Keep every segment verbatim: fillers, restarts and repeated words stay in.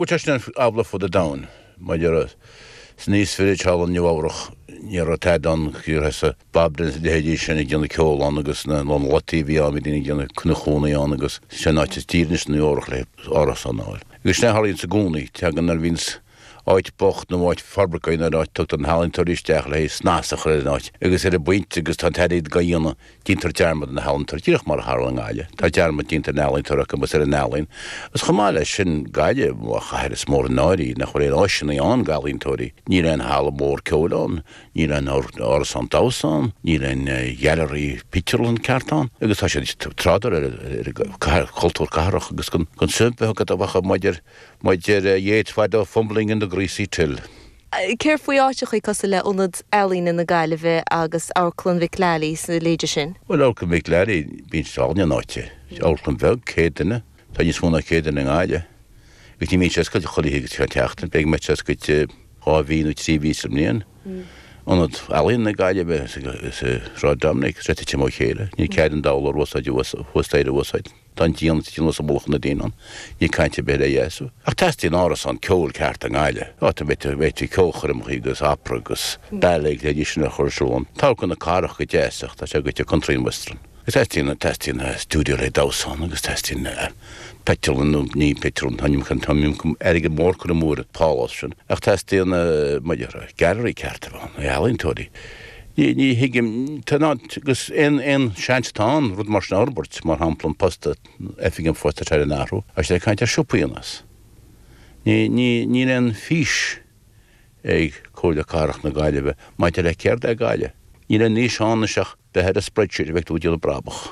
Bhuel, tá sin amhlaidh fud an domhain. Maidir san East Village thall i Nua Eabhrach, ní raibh tada ann, thusa Bob Dylan is a leithéidí sin ag déanamh ceoil ann agus na lotaí a bhí ann, bhí daoine ag déanamh ina chónaí ann agus sin an áit is daoire anois i Nua Eabhrach le árasán a fháil. Agus sin a tharlaíonns i gcónaí, tagann nuair a bhíonns áit bocht nó áit forbartha in áit tugtar na healaíontóirí isteach le snas a chur ar an áit agus ar an bpointe agus tá an t-airgead á dhéanamh déantar dearmad ar na healaíontóirí díreach mar a tharla i nGaillimh. Tá dearmad déanta ar na healaíontóirí acu agus ar an ealaín. Agus chomh maith leis sin Gaillimh mar chathair is mór an náire í nach bhfuil aon áiseanna ann d'ealaíontóirí. Níl aon halla mór ceoil ann, níl aon árasán damhsa ann, níl aon ghailearaí pictiúrlann ceart ann agus tá siad ag trádáil ar ar chultúr cathrach agus gan suim bheith acu a bheadh maidir Mar a deir Yeats fadó fumbling in the greasy till. Céard faoi áiteachaí cosúil le Ionad Ealaíne na Gaillimhe agus Amharclann Mhic Lally is a leithéide sin? Bhuel, Amharclann Mhic Lally, bíonn sé álainn an áit é. Amharclann bheag, céad duine. Tá níos mó ná céad duine i nGaillimh. Agus ní bhíonn sé oscailte chuile oíche agus chuile sheachtain. B'fhéidir go mbeidh sé oscailte dhá mhí nó trí mhí sa mbliain. Ionad Ealaíon na Gaillimhe sa Sráid Dominic, tá sé ag titim ó chéile. Níl cead an dá urlár thuas staighre a úsáid. Tá an díon ag titim anuas i mullach na ndaoine ann. Níl caint ar bith ar é a dheisiú. Ach teastaíonn árasán ceoil ceart i nGaillimh, áit a mbeidh ceolchoirmeacha agus opera agus ballet agus leithéidí sin a chur ar siúl ann. Tá Amharclann na Cathrach go deas ach tá sé goite ag Country and Western. Agus teastaíonn, teastaíonn stiúideo le damhsa ann agus teastaíonn pictiúrlann nó ní pictiúrlann, tá an iomarca airgead mór curtha amú ar an phálás sin. Ach teastaíonn, mar a déarfá, gailearaí ceart a bheith ann, ealaíontóirí. Ní, ní thuigim, tá an, agus aon, aon seans atá ann rud mar sin a fhorbairt, mar shampla an post, oifig an phoist atá ar an athrú, agus ag caint ar siopaí anuas. Ní, ní, níl aon fís ag Comhairle Cathrach na Gaillimhe maidir le céard é Gaillimh. Níl aon fhís ann anois ach bheith ar an spreadsheet a bheidh tú ag déanamh brabach.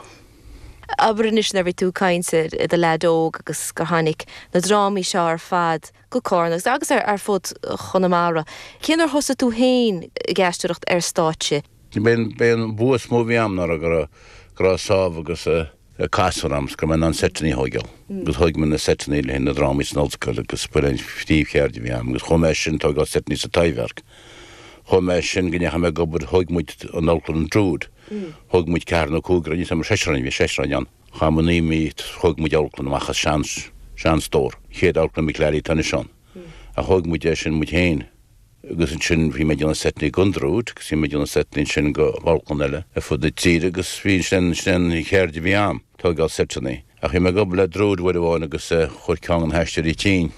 Abair anois nuair a bhí tú ag caint ar i do leaid óg agus gur tháinig na drámaí seo ar fad go Cárna agus agus ar ar fud Chonamara. Cén uair thosaigh tú féin ag aisteoireacht ar stáitse? B'é an bua is mó a bhí a'm ná go raibh go raibh sábh agus casúr a'm 's go raibh mé in ann seiteanna a thóigeáil. Agus thóig mé na seiteanna le haghaidh na drámaí san ollscoil agus b'in an phríomhcheird a bhí a'm agus chuaigh mé as sin tóigeáil seiteanna sa Taibhdhearc. Chuaigh mé as sin go ndeachaigh mé ag obair, thóig muid an amharclann an Druid. Thóg muid ceathrar nó cúigear, níl 's a'm, seisear againn, bhí seisear againn ann. Chaith muid naoi mí, thóg muid amharclann amach as sean, seanstór. Chéad amharclann Mick Lally atá anois ann. Ach thóg muid é sin muid féin. Agus ansin bhí mé ag déanamh seiteanna don Druid agus bhí mé ag déanamh seiteanna ansin go amharclann eile ar fud na tíre agus bhí sin, sin an cheird a bhí a'm, tógáil seiteanna. Ach bhí mé ag obair le Druid uair amháin agus chuir ceann de na haisteoirí tinn.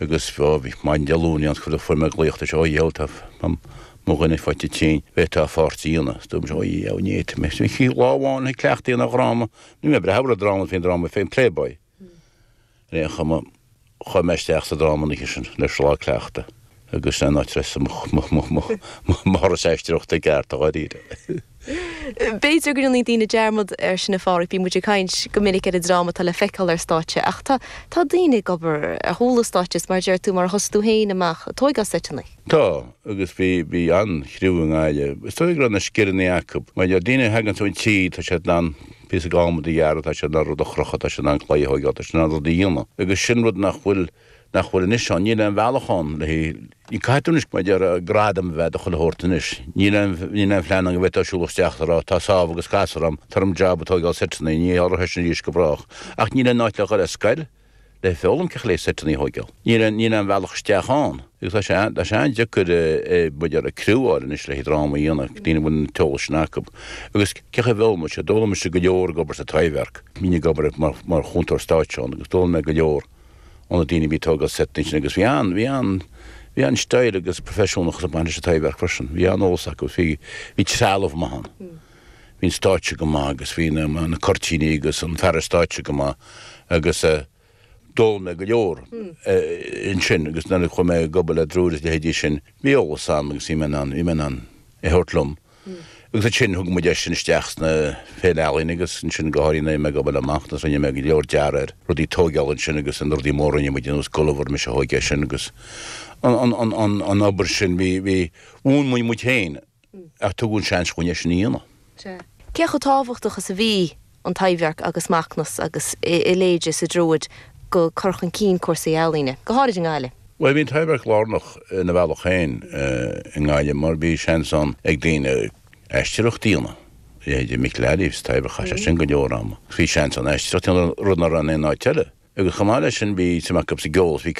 Agus ó bhí maidin Dé Luain ann chuir fuair mé glaoch tá sé ó dheabhal tá mo dhuine faighte tinn bhféadfá pháirt a dhéanamh. Is dúirt mise ó dheabhal ní fhéadfaidh mé. Bhí lá amháin ag cleachtadh an dhráma ní mé breithe ar dráma faoin dráma féin Playboy. Ar aon chuma chuaigh mé isteach sa dráma an oíche sin leis an lá cleachta agus sin an áit a raibh mo thuras aisteoireachta i gceart dháiríre. B'fhéidir go ndéanfaidh daoine dearmad air sin a Pháraic, bíonn muid ag caint go minic ar an dráma atá le feiceáil ar stáitse ach tá tá daoine ag obair ar chúl an stáitse is mar a deir tú mar a thosaigh tú féin amach ag tóigeáil seiteanna. Tá, agus bhí bhí an-chriú i nGaillimh. Is dóigh go raibh na scileanna acu. Mar daoine a thagann ón tír tá siad in ann píosa adhmaid a ghearradh, tá siad in ann rud a chrochadh, tá siad in ann claí a thóigeáil, tá siad in ann rud a dhéanamh. Agus sin rud nach bhfuil nach bhfuil anois ann. Níl aon bhealach ann le haghaidh, caithfidh tú anois mar a déarfá gradam a bheith do chuile shórt anois. Níl aon, níl aon phlean ann go bhféadfá siúl isteach is a rá tá sábh agus casúr a'm, tabhair dom jab ag tóigeáil seiteanna, ní tharlóidh sin arís go brách. Ach níl aon áit le dhul ar scoil le foghlaim cén chaoi le seiteanna a thóigeáil. Níl aon, níl aon bhealach isteach ann. Agus tá sé, tá sé an-deacair mar a déarfá criú a fháil anois le haghaidh dráma a dhéanamh, daoine a bhfuil an t-eolas sin acu. Agus cén chaoi a bhfoghlaim mise? D'fhoghlaim mise go leor ag obair sa Taibhdhearc. Bhínn ag obair mar, mar chúntóir stáitse ann agus d'fhoghlaim mé go leor. ó na daoine a bhí ag tógáil seiteanna sin agus bhí an, bhí an, bhí an-stíl agus proifisiúnachas ag baint leis an Taibhdhearc freisin. Bhí an-eolas acu, bhí, bhí trealamh maith ann. Bhí an stáitse go maith agus bhí na, na cuirtíní agus an fearas stáitse go maith agus eh, d'fhoghlaim mé go leor eh, ansin agus nuair a chuaigh mé ag obair le Druid is leithéidí sin, bhí eolas a'm agus bhí mé in ann, bhí mé in ann é a thabhairt liom. Agus ansin thug muid é sin isteach sna Féile Ealaíon agus ansin go háirithe nuair a bhí mé ag obair le Macnas rinne mé go leor dearadh ar rudaí tóigeála ansin agus na rudaí móra a rinne muid ar nós Gulliver mise a thóig é sin agus an an an an obair sin bhí bhí mhúin muid muid féin ach tugadh an seans dhúinn é sin a dhéanamh. Sea. Cé chomh tábhachtach is a bhí an Taibhdhearc agus Macnas agus a leithéide sa Druid go cur chun cinn cúrsaí ealaíne, go háirid i nGaillimh? Bhuel, bhí an Taibhdhearc lárnach ina bhealach féin i nGaillimh mar bhí seans ann ag daoine aisteoireacht a dhéanamh. Leithéidí Mick Lally sa Taibhdhearc, chaith sé sin go leor ama. Bhí seans ann aisteoireacht a dhéanamh, rud nach raibh in aon áit eile. Agus chomh maith leis sin bhí suim acu sa gceol, bhí